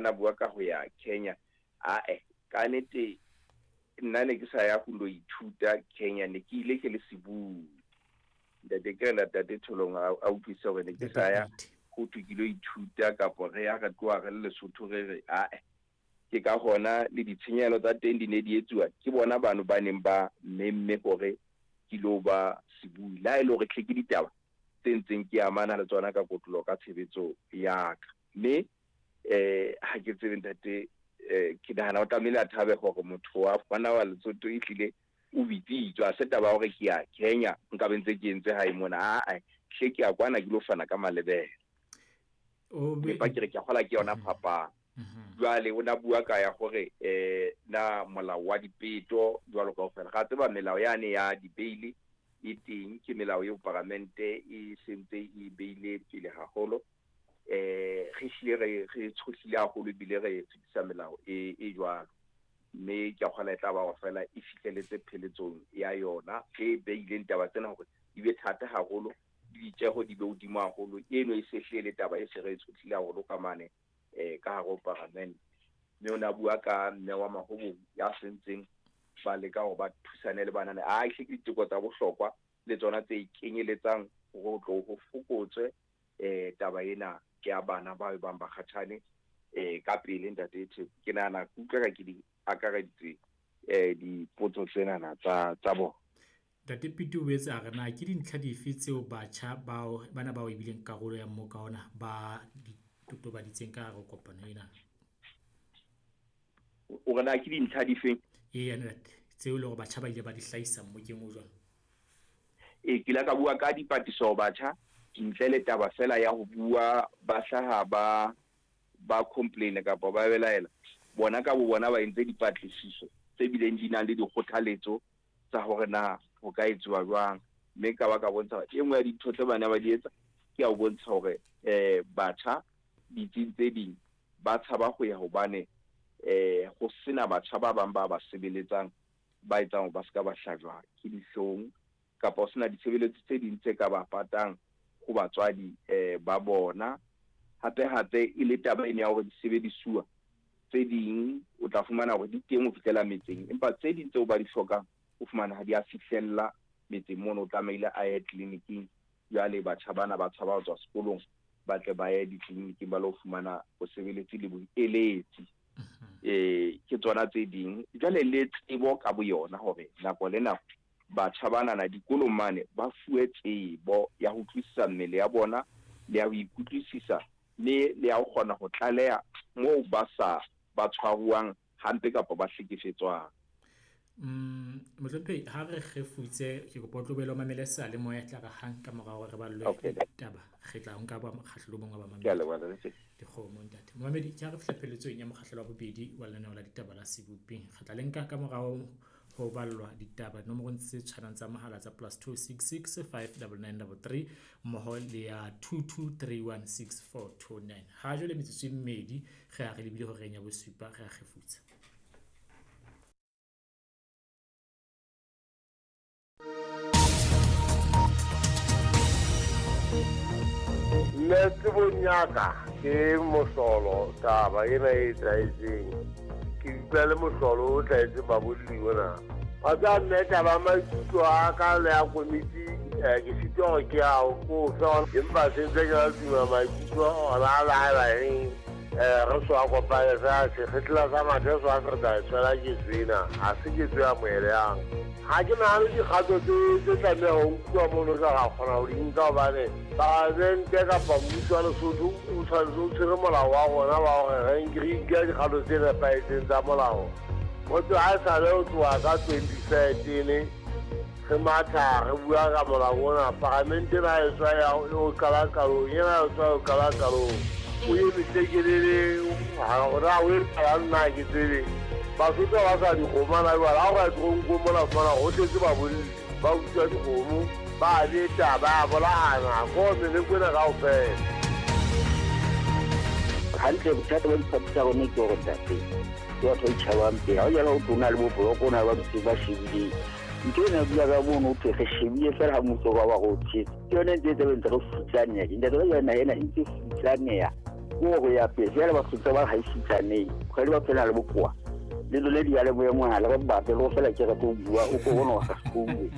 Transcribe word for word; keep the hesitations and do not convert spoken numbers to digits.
Na bua ka ho ya Kenya, ae ka nnete nna ne ke sa ya ho lo ithuta Kenya, ne ke ile ke le sebui. Ntate ke re ntate Tholong a a utlwisise hore ne ke sa ya ho thwe ke lo ithuta kapa re ya re tloha re le Lesotho re re ae. Ke ka hona le ditshenyehelo tsa teng di ne di etsuwa ke bona bano ba neng ba memme hore ke lo ba sebui. Le ha e le hore hle ke ditaba tse ntseng ke amana le tsona ka kotloloho ka tshebetso ya ka. Mme eh ha ke tsebe ntate, eh ke nahana o tlamehile a thabe hore motho wa ngwana wa Lesotho ehlile o bitsitswe. Ha se taba ya hore ke ya Kenya nka be ntse ke entse hae mona, ae hle ke ya kwana ke lo fana ka malebela. O be Empa ke re ke a kgolwa ke yona phapang. Jwale o na bua ka ya hore eh na molao wa dipeto jwalo kaofela. Ra tseba melao yane ya di-bail e teng, ke melao eo paramente e sentse e beile pele haholo. Eh re hlile re re tshohlile haholo ebile re fetisa melao e e jwalo. Mme ke a kgolwa e tla ba hore feela e fihlelletse pheletsong ya yona e beileng taba tsena hore di be thata haholo, le ditjeho di be hodimo haholo. Eno e se hlile le taba e se re e tshohlile haholo ka mane eh ka hare ho paramente. Mme o na bua ka mme wa Mahobong ya sentseng ba leka hore ba thusane le banana. A hle ke diteko tsa bohlokwa le tsona tse kenyeletsang hore ho tlo ho fokotswe eh taba ena ya bana ba bang ba kgatjhane eh ka pele ntate Theko. Ke nahana ke utlwa ka ke di akareditse eh dipotso tsenana tsa tsa bona. Ntate Piti o boetse a re na ke dintlha dife tseo batjha bao bana bao e bileng karolo ya mmoka ona ba di totobaditseng ka hare ho kopano ena? O re na ke dintlha difeng? Eya ntate, tseo e leng hore batjha ba ile ba di hlahisa mmokeng o jwalo. E ke ile ka bua ka dipatlisiso ho batjha ntle le taba fela ya ho bua ba hlaha ba ba complain kapa ba belaela. Bona ka bo bona ba entse dipatlisiso tse bileng di nang le dikgothaletso tsa hore na ho ka etsuwa jwang. Mme ka ba ka bontsha hore e nngwe ya dintho tse bana ba di etsa ke ya ho bontsha hore eh batjha ditsing tse ding ba tshaba ho ya hobane eh ho sena batjha ba bang ba ba sebeletsang ba etsang hore ba ska ba hlajwa ke dihlong kapa ho sena ditshebeletso tse ding tse ka ba patang ho batswadi eh ba bona. Hape hape e le taba ena ya hore disebedisuwa tse ding o tla fumana hore di teng ho fihlela metseng, empa tse ding tseo ba di hlokang o fumana ha di a fihlella metseng mono, o tlamehile a ye tleliniking. Jwale batjha bana ba tshaba ho tswa sekolong ba tle ba ye ditleliniking ba lo fumana bosebeletsi le boeletsi. Eh ke tsona tse ding. Jwale le tsebo ka boyona hore nako le nako batjha bana na dikolong mane ba fuwe tsebo ya ho utlwisisa mmele ya bona le ya ho ikutlwisisa le le ya ho kgona ho tlaleha moo ba sa ba tshwaruwang hampe kapa ba hlekefetswang. Mm, Mohlomphehi, ha re kgefutse ke kopa o tlohele o mamele seyalemoya tla re hang ka morao hore re ballwe Okay. ditaba, re tla nka ba mokgahlelo o mong wa bamamedi. Ke a leboha, Ntate. Dikgomo ntate. Momamedi, ke ha re fihla pheletsong ya mokgahlelo wa bobedi wa lenaneo la ditaba la Seboping. Re tla le nka ka morao ho ballwa ditaba nomorong tse tshwanang tsa mohala tsa plus two six six five double nine double three mmoho le ya two two three one six four two nine. Ha jwale metsotso e mmedi re a re lebile horeng ya bosupa, re a kgefutsa. Nna tsebong ya ka ke mohlolo taba ena e etsahetseng. Ke utlwa le mohlolo o hlahetseng babolli mona. Wa tseba mme taba ya maikutlo a ka le ya komiti, eh, ke sitwa hore ke a o fe, empa se ntse ke la tuma maikutlo ona a la haeba eng, eh, re so a kopane fela sekgehla sa mathe so a se re tla e tshwela ketso ena, ha se ketso e amohelehang. Ha ke nahane dikgato tse tse tlameha ho nkuwa mono tla ra kgona ho di nka hobane palamente kapa mmuso wa Lesotho o tshwanetse o tshwere molao wa rona wa hore re nke re nke dikgato tse nepahetseng tsa molao. Ho tloha ha esale ho tloha ka twenty thirteen re matha re bua ka molao ona, palamente ena e tswa ya o qala qalong, ena e tswa o qala qalong. O eme tlekelele, ha hore ha o etsahalang nna ha ke tsebe. Basotho ba sa dikgomo hana jwale, ha o ka ya toronkong mona o fumana ho tletse babolli, ba utswa dikgomo, ba beta, ba bolayana, ko meleko ena kaofela. Hantle bothata ba diphathi tsa rona ke hore ntate, ke batho ba itjhabang pele. Ha o jala ho tlo na le bo boloko, o na le ba ntse ba shebileng. Ntho ena bua ka mono ho thwe re shebile feela ha mmuso wa ba re o tshetse. Ke yone ntse e tla be ntse re futsaneha. Ntate ba jwana ena e ntse futsaneha. Ko go ya pele jale batho tse ba gaisitsaneng kgwedi ba phela le bokoa le lone diyalemoya mohala ba bape le go fela ke re tlo bua o ko bona wa sa sekolo.